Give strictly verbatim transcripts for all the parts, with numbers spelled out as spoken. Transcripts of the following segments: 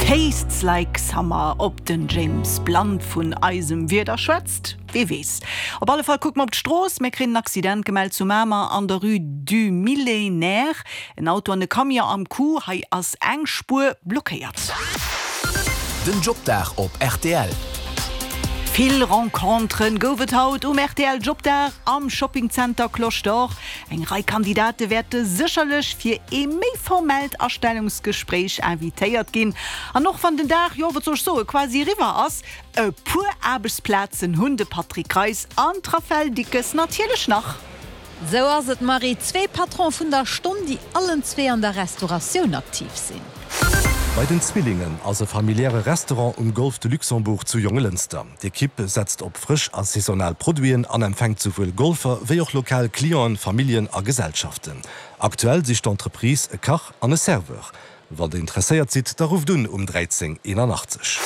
Tastes like summer ob den James Blunt vun eisem Wieder schwätzt? Wie weess. Op alle Fall kucke mer op d'Strooss, mir kréien en Accident gemellt zu Mamer an der Rue du Millénaire. En Auto an e Camion am Coup, hei ass eng Spuer blockéiert. Den Jobdag op R T L. Vill Renconteren gouf et haut um R T L Jobdag am Shoppingcenter Cloche d'Or. Eng Rei Kandidate wäerte sécherlech fir e méi formellt Astellungsgespréich invitéiert ginn. An och wann den Dag, jo, wat soll ech soen, quasi eriwwer ass, e puer Aarbechtsplazen hunn de Patrick Reis an d'Raffaele Dickes natierlech nach. Sou ass et Marie, zwee Patrone vun der Stonn, déi allen zwee an der Restauratioun aktiv sinn. Bei den Zwillingen ass e familiäre Restaurant um Golf de Luxembourg zu Jonglënster. D'Ekipp setzt op frësch a saisonal Produiten an empfänkt souwuel Golfer wéi och lokal Clienten, Familljen a Gesellschaften. Aktuell sicht d'Entreprise e Kach an e Serveur. Wann der interesséiert sidd, da rufft un um dräizéng eenanachtzeg.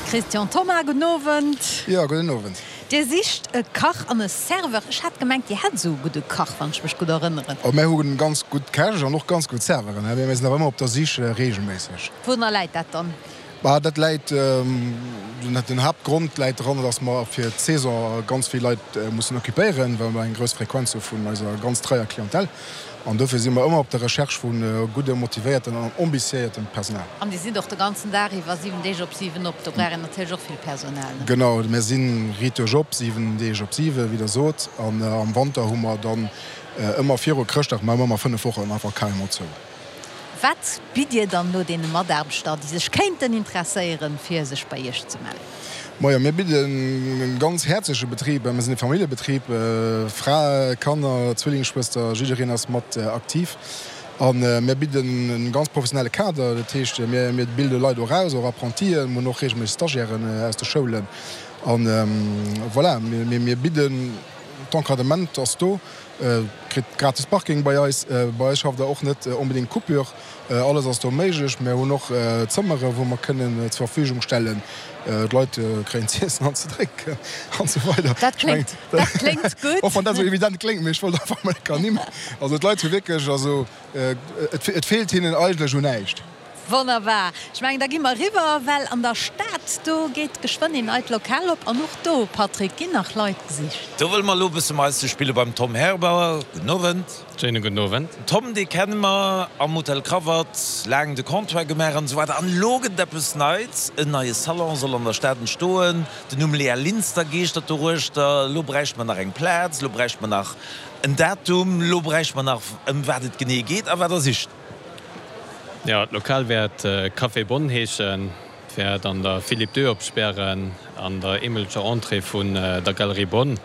Christian Thoma, gudden Owend. Jo, gudden Owend. Dir sicht e Kach an e Serveur. Ech hat gemengt, Dir hätt sou gudde Kach, wann ech mech gutt erënneren. Oh, mir hu ganz gutt Käch an och ganz gutt Serveuren. Mir sinn awer ëmmer op der Sich äh, reegelméisseg. Wourunner läit dat dann? Bah, dat läit ähm, den Haaptgrond läit drun, dass mer fir d'Saison ganz vill Leit äh, mussen occupéieren, well mer eng grouss Frequenz hu vun eiser ganz treier Clientèle. An dofir si mer ëmmer op der Recherche vun äh, gudde motivéierten an ambitiéiertem Personal. An déi sinn och de ganzen Dag iwwer siwen Deeg op siwen op, do brauch een natierlech och vill Personal. Ne? Genau, mir si riicht op, siwen Deeg op siwen, wéi der sot. An äh, am Wanter hu mer dann äh, ëmmer viru Chrëschtdag, maache mer ëmmer fënnef Wochen einfach carrément zou. Wat bitt Dir dann elo deene Mataarbechter, déi sech kéinten interesséieren, fir sech bei Iech ze mellen? Ma jo, mir bidden e ganz häerzleche Betrib, mir sinn e Familljebetrib, äh, Fra, Kanner, Zwillingsschwëster, jiddereen ass mat äh, aktiv. An äh, mir bidden e ganz professionelle Kader, dat heescht, mir, mir bilde Leit och aus, och Apprentien, mir hunn och reegelméisseg Stagiairen äh, aus de Schoulen. An ähm, voilà, mir, mir, mir bidden d'Encadrement ass do, äh, kritt gratis Parking bei eis, äh, bei eis schafft der och net äh, onbedéngt Coupure, äh, alles ass do méiglech, mir hunn och äh, Zëmmere wou mer kënnen äh, zur Verfügung stellen, äh, d'Leit äh, kréien z'iessen an ze drénken an sou weider. Dat kléngt, dat kléngt gutt. Och wann dat sou evident kléngt, mee ech wollt einfach mol ernimmen. Also d'Leit hu wierklech, also äh, et, et feelt hinnen eigentlech un näischt. Wonnerbar. Ech mengen, da gi mer eriwwer, well an der Stad do geet geschwënn en neit Lokal op an och do, Patrick, ginn nach Leit gesicht. Do wëlle mer elo e bësse Meischter spille beim Tom Herbauer. Gudden Owend. Schéine gudden Owend. Tom, dee kenne mer am Hotel Krawatt, laang de Comptoir gemaach an sou weider. An elo gëtt eppes Neits, en neie Salon soll an der Stad entstoen. Den Numm Lea Linster geeschtert doruechter. Elo bräicht mer nach eng Plaz, elo bräicht mer nach en Datum, elo bräicht mer nach ëm wat et genee geet a wat der sicht. Jo, d'Lokal wäert äh, Café Bonn heeschen, wäert an der Philippe deux opspären an der eemeleger Entrée vun äh, der Galerie Bonn.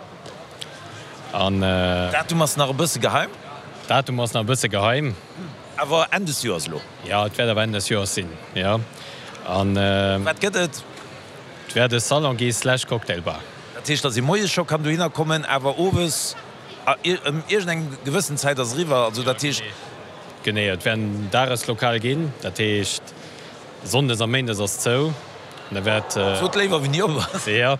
An äh, Datum ass nach e bësse geheim, Datum ass nach e bësse geheim. Awer Enn des Joers elo. Jo, et wäert awer Enn des Joers sinn. Jo. An äh, Wat gëtt et? Et wäert e Salon gi slash Cocktailbar. Dat heescht, dass ee moies scho kann dohinner kommen, awer owes ëm iergendeng gewëssen Zäit ass eriwwer, also dat heescht Genee, et wäert en Dageslokal ginn, dat heescht sonndes a méindes ass zou. Da wäert äh, Sot léiwer wéini op. Jo.